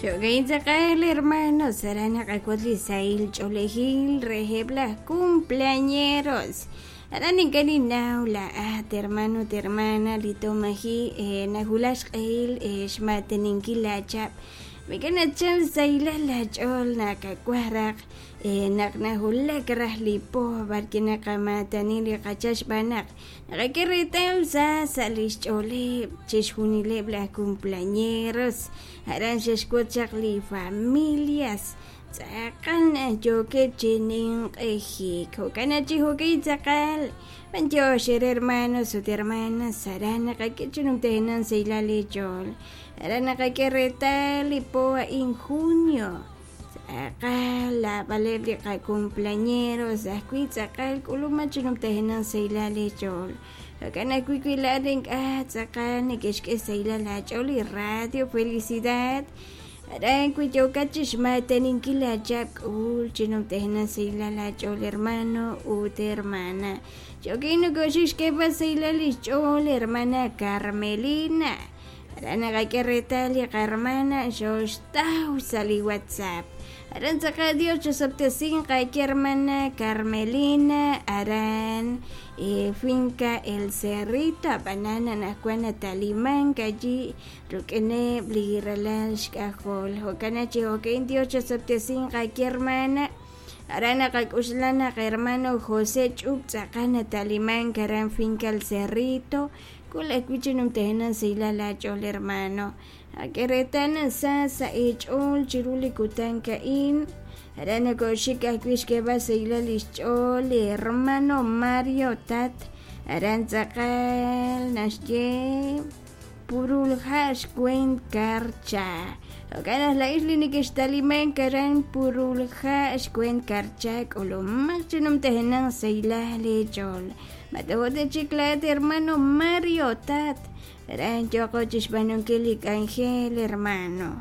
Jo'kan tz'aqal hermanos, aran naqak'ut li sahil ch'oolejil reheb' laj cumpleañeros. Aran ink'a' ninnaw laa'at hermano ut hermana li tomaji nawulak xq'ehil xmaateninkil laachab'. Mik'a' nachal sahilal laach'ool nakawaj raj naq nawulak raj li po b'arwi' naqamaatani li qachal xb'aan naq naqak'e reetal sa sa' li xch'ooleb' chixjunileb' laj cumpleañeros aran xe'xwotz chaq li familias tz'aqal naq yookeb' chi ninq'ejik. Jo'kan naq chi jo'kan tz'aqal b'antiox eere hermanos ut hermanas aran naqak'e chi numtajenaq sahilal eech'ool. Aran naqak'e reetal li po a'in junio tz'aqal naab'aleb' li qacumpleañeros ajwi' tz'aqal k'ulub'aj chi numtajenaq sahilal eech'ool. Jo'kan ajwi' wi laa'at ink'a' tz'aqal neke'xk'e sahilal aach'ool li radio Felicidad aran wi yookat chi xmaateninkil laachab' k'ul chi numtajenaq sahilal aach'ool hermano ut hermana. Yo'kin nokoxik xk'eeb'al sahilal li xch'ool hermana Carmelina. Aran naqak'e reetal li qahermana xooxtaw sa' li WhatsApp. Aran tz'aqal Dios chosob'tesinq aawe hermana Carmelina aran finca El Cerrito ab'anan anaqwan natalimank allí ruk'ineb' li ralal xk'ajol. Jo'kan naq chi jo'kan Dios chosob'tesinq aawe hermana. Aran naqak'oxla naq hermano José Ch'up tz'aqal natalimank aran finca El Cerrito k'ul ajwi' chi numtajenaq sahilal aach'ool hermano. Ak'e reetal naq sa sa' eech'ool chiru li kutan a'in. Aran nokoxik ajwi' xk'eeb'al sahilal li xch'ool li hermano Mario Tat. Aran tz'aqal naxye Purulha' xweent Karcha. Jo'kan naq laa'ex li nekextalimank aran Purulha' xweent Karcha k'ulumaq chi numtajenaq sahilal eech'ool. Matojo' chik laa'at hermano Mario Tat. Aran yooqo chi xb'aanunkil li k'anjel hermano.